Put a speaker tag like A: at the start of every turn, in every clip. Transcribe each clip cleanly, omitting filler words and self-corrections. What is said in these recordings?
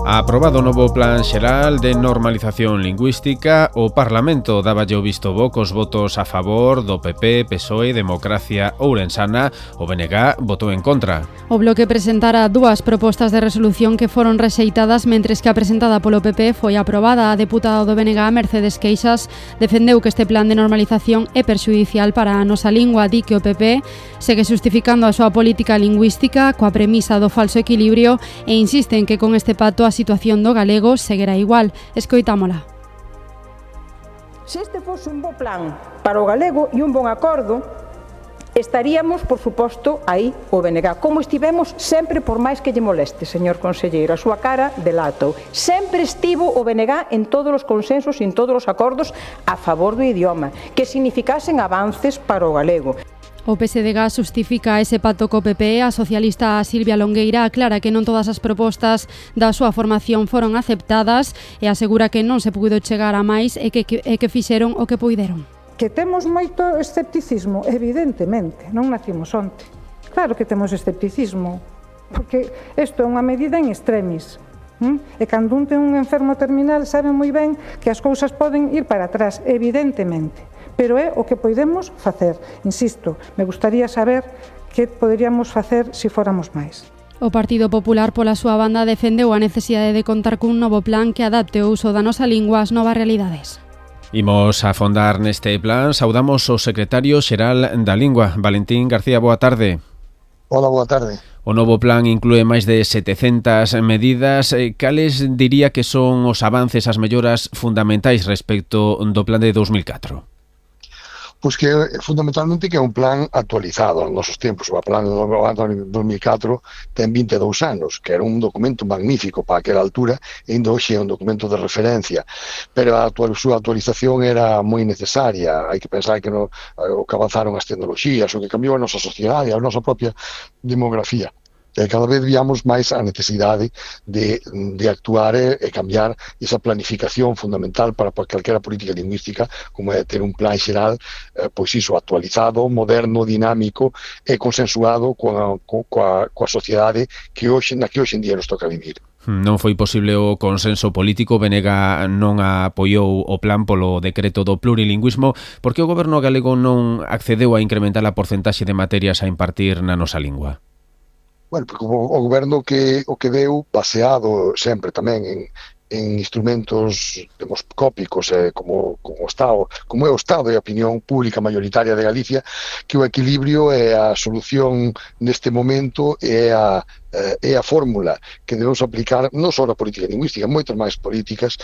A: Aprobado o novo Plan Xeral de Normalización Lingüística, o Parlamento dáballe o visto bo cos votos a favor do PP, PSOE, Democracia Ourensana. O BNG votou en contra.
B: O Bloque presentara dúas propostas de resolución que foron rexeitadas, mentres que a presentada polo PP foi aprobada. A deputada do BNG, Mercedes Queixas, defendeu que este plan de normalización é perxudicial para a nosa lingua. Di que o PP segue justificando a súa política lingüística coa premisa do falso equilibrio e insiste en que con este pacto a situación do galego seguirá igual. Escoitámola.
C: Se este fose un bo plan para o galego e un bon acordo, estaríamos, por suposto, aí o BNG, como estivemos sempre, por máis que lle moleste, señor conselleiro, a súa cara delatou. Sempre estivo o BNG en todos os consensos e en todos os acordos a favor do idioma, que significasen avances para o galego.
B: O PSDG justifica ese pacto co PP. A socialista Silvia Longueira aclara que non todas as propostas da súa formación foron aceptadas e asegura que non se puido chegar a máis e que fixeron o que puideron.
D: Que temos moito escepticismo, evidentemente, non nacimos onte. Claro que temos escepticismo, porque isto é unha medida en extremis. E cando un ten un enfermo terminal sabe moi ben que as cousas poden ir para atrás, evidentemente. Pero é o que podemos facer. Insisto, me gustaría saber que poderíamos facer se fóramos máis.
B: O Partido Popular, pola súa banda, defendeu a necesidade de contar cun novo plan que adapte o uso da nosa lingua ás novas realidades.
A: Imos a afondar neste plan. Saudamos o secretario xeral da Lingua, Valentín García. Boa tarde.
E: Hola, boa tarde.
A: O novo plan inclúe máis de 700 medidas. Cales diría que son os avances, as melloras fundamentais respecto do plan de 2004?
E: Pois que fundamentalmente que é un plan actualizado aos nosos tempos. O plan de 2004 ten 22 anos, que era un documento magnífico para aquela altura, e ainda hoxe é un documento de referencia, pero a súa actualización era moi necesaria. Hai que pensar que o que avanzaron as tecnoloxías, o que cambiou a nosa sociedade, a nosa propia demografía. Cada vez víamos máis a necesidade de actuar e cambiar esa planificación fundamental para calquera política lingüística, como é ter un plan xeral, pois iso, actualizado, moderno, dinámico e consensuado coa sociedade na que hoxe en día nos toca vivir.
A: Non foi posible o consenso político. BNG non apoiou o plan polo decreto do plurilingüismo. Por que o goberno galego non accedeu a incrementar a porcentaxe de materias a impartir na nosa lingua?
E: Bueno, porque o goberno o que deu, baseado sempre tamén en instrumentos demoscópicos, como é o Estado e a opinión pública maioritaria de Galicia, que o equilibrio é a solución neste momento, é a fórmula que debemos aplicar non só na política lingüística, moitas máis políticas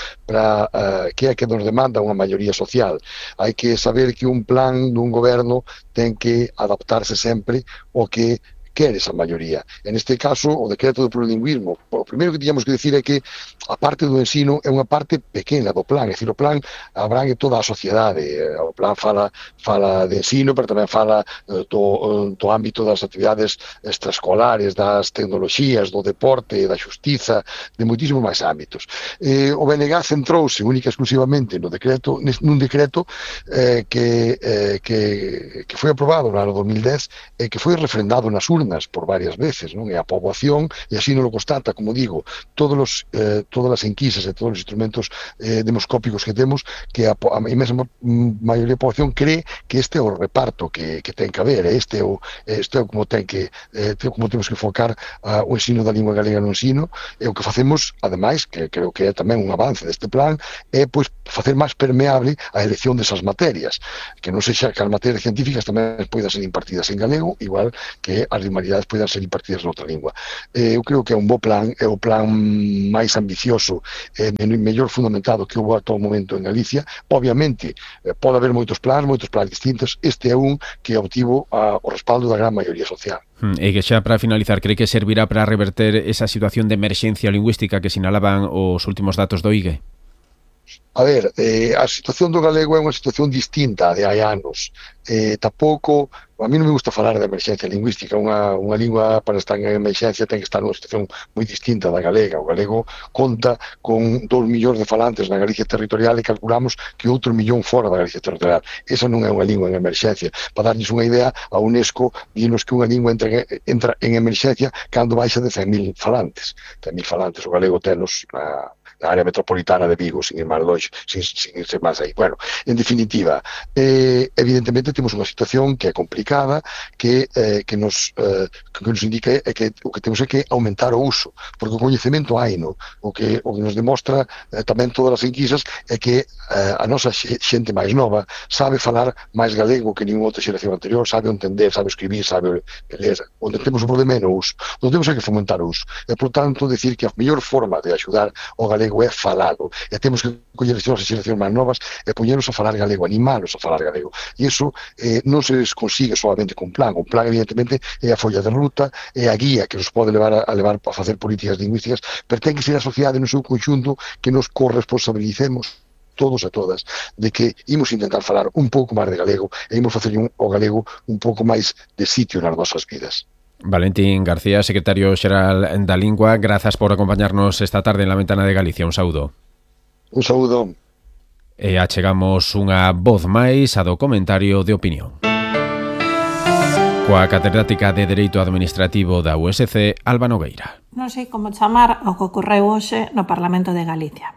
E: que é que nos demanda unha maioría social. Hai que saber que un plan dun goberno ten que adaptarse sempre ao que quere esa maioría. En este caso, o decreto do plurilingüismo, o primeiro que tiñamos que decir é que a parte do ensino é unha parte pequena do plan, é dicir, o plan abrangue toda a sociedade. O plan fala de ensino, pero tamén fala do ámbito das actividades extraescolares, das tecnoloxías, do deporte, da xustiza, de moitísimos máis ámbitos. O BNG centrouse única e exclusivamente nun decreto que foi aprobado no ano 2010 e que foi refrendado nas urnas por varias veces, non? E a poboación, e así non lo constata, como digo, todas as enquisas e todos os instrumentos demoscópicos que temos, que a mesma maioría da poboación cree que este é o reparto que ten que haber, este é como temos que enfocar o ensino da lingua galega no ensino, e o que facemos, ademais, que creo que é tamén un avance deste plan, é pois facer máis permeable a elección desas materias, que non sexa que as materias científicas tamén poidan ser impartidas en galego, igual que as humanidades poidan ser impartidas noutra lingua. Eu creo que é un bo plan, é o plan máis ambicioso e mellor fundamentado que houve ata o momento en Galicia. Obviamente, pode haber moitos plans distintos. Este é un que obtivo o respaldo da gran maioría social.
A: E que xa para finalizar, cree que servirá para reverter esa situación de emerxencia lingüística que sinalaban os últimos datos do IGE?
E: A ver, a situación do galego é unha situación distinta de hai anos. Tampouco, a mí non me gusta falar de emerxencia lingüística. Unha lingua para estar en emerxencia ten que estar nunha situación moi distinta da galega. O galego conta con 2 millóns de falantes na Galicia territorial e calculamos que outro millón fora da Galicia territorial. Esa non é unha lingua en emerxencia. Para darles unha idea, a UNESCO dinos que unha lingua entra en emerxencia cando baixa de 100.000 falantes. 100.000 falantes, o galego tenos na área metropolitana de Vigo, sin ir máis longe, sin ser máis aí. Bueno, en definitiva, evidentemente temos unha situación que é complicada, que nos indica que o que temos é que aumentar o uso, porque o coñecemento haino. O que nos demostra tamén todas as enquisas é que a nosa xente máis nova sabe falar máis galego que ninguna outra xeración anterior, sabe entender, sabe escribir, sabe ler. Onde temos o problema é no uso. Onde temos é que fomentar o uso. E, por tanto, decir que a mellor forma de axudar o galego é falado, e temos que coller as nosas xeracións máis novas e poñernos a falar galego, animalos a falar galego, e iso non se consigue solamente con plan. O plan, evidentemente, é a folla de ruta, é a guía que nos pode levar a facer políticas lingüísticas, pero ten que ser a sociedade no seu conxunto que nos corresponsabilicemos todos e todas de que imos intentar falar un pouco máis de galego e imos facer o galego un pouco máis de sitio nas nosas vidas.
A: Valentín García, secretario xeral da Lingua, grazas por acompañarnos esta tarde en La Ventana de Galicia. Un saúdo.
E: Un saúdo.
A: E achegamos unha voz máis a do comentario de opinión. Coa catedrática de Dereito Administrativo da USC, Alba Nogueira.
F: Non sei como chamar ao que ocorreu hoxe no Parlamento de Galicia.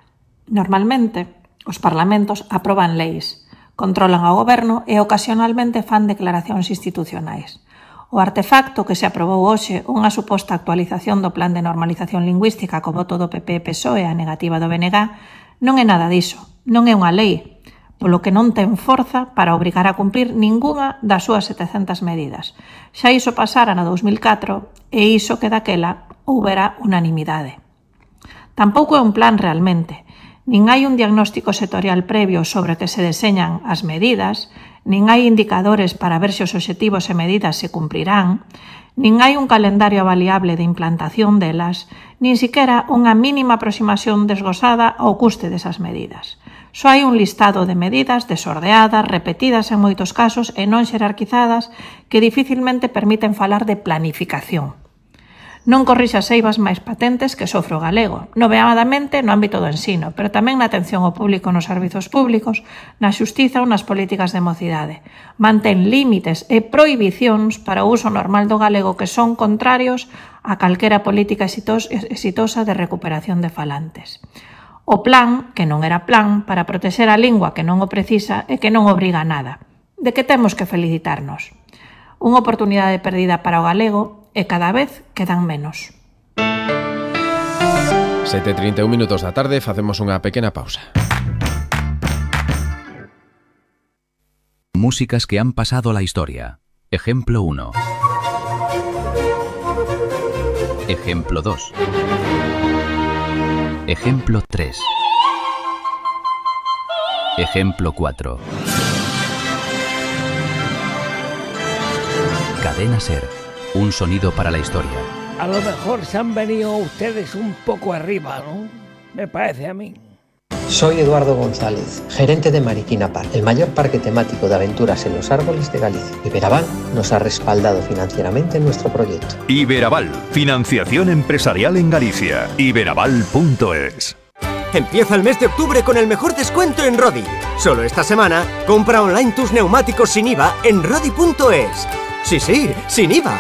F: Normalmente, os parlamentos aproban leis, controlan ao goberno e ocasionalmente fan declaracións institucionais. O artefacto que se aprobou hoxe, unha suposta actualización do Plan de Normalización Lingüística co voto do PP e PSOE a negativa do BNG, non é nada diso, non é unha lei, polo que non ten forza para obrigar a cumprir ningunha das súas 700 medidas. Xa iso pasara no 2004 e iso que daquela houbera unanimidade. Tampouco é un plan realmente, nin hai un diagnóstico sectorial previo sobre que se deseñan as medidas, nin hai indicadores para ver se os obxectivos e medidas se cumprirán, nin hai un calendario avaliable de implantación delas, nin siquera unha mínima aproximación desgosada ao custe desas medidas. Só hai un listado de medidas desordeadas, repetidas en moitos casos e non xerarquizadas que dificilmente permiten falar de planificación. Non corrixe as eivas máis patentes que sofre o galego, nomeadamente no ámbito do ensino, pero tamén na atención ao público nos servizos públicos, na xustiza ou nas políticas de mocidade. Mantén límites e prohibicións para o uso normal do galego que son contrarios a calquera política exitosa de recuperación de falantes. O plan, que non era plan, para protexer a lingua que non o precisa e que non obriga a nada. De que temos que felicitarnos? Unha oportunidade perdida para o galego e cada vez quedan menos.
A: 7:31 minutos da tarde, facemos unha pequena pausa.
G: Músicas que han pasado la historia. Ejemplo 1. Ejemplo 2. Ejemplo 3. Ejemplo 4. Cadena Ser. Un sonido para la historia.
H: A lo mejor se han venido ustedes un poco arriba, ¿no? Me parece a mí.
I: Soy Eduardo González, gerente de Mariquina Park, el mayor parque temático de aventuras en los árboles de Galicia. Iberaval nos ha respaldado financieramente en nuestro proyecto.
J: Iberaval, financiación empresarial en Galicia. Iberaval.es.
K: Empieza el mes de octubre con el mejor descuento en Rodi. Solo esta semana, compra online tus neumáticos sin IVA en Rodi.es. Sí, sin IVA.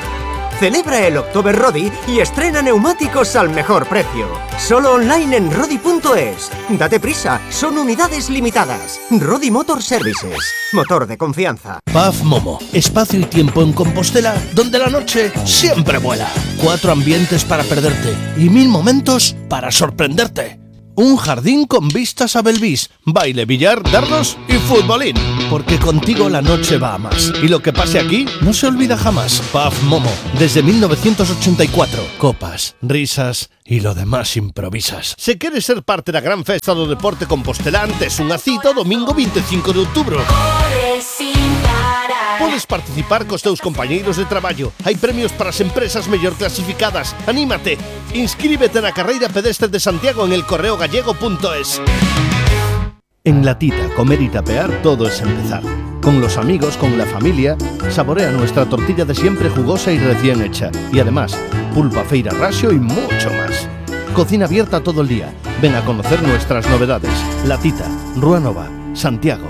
K: Celebra el October Rodi y estrena neumáticos al mejor precio. Solo online en Rodi.es. Date prisa, son unidades limitadas. Rodi Motor Services, motor de confianza.
L: Paz Momo, espacio y tiempo en Compostela donde la noche siempre vuela. 4 ambientes para perderte y 1000 momentos para sorprenderte. Un jardín con vistas a Belvís, baile, billar, dardos y futbolín. Porque contigo la noche va a más. Y lo que pase aquí no se olvida jamás. Paz Momo, desde 1984. Copas, risas y lo demás improvisas. Se queres ser parte da gran festa do deporte compostelán, tes unha cita o domingo 25 de outubro. Podes participar cos teus compañeiros de traballo. Hai premios para as empresas mellor clasificadas. Anímate. Inscríbete na carreira pedestre de Santiago en elcorreogallego.es. En La Tita, comer y tapear, todo es empezar. Con los amigos, con la familia, saborea nuestra tortilla de siempre jugosa y recién hecha. Y además, pulpa feira rasio y mucho más. Cocina abierta todo el día. Ven a conocer nuestras novedades. La Tita, Rúa Nova, Santiago.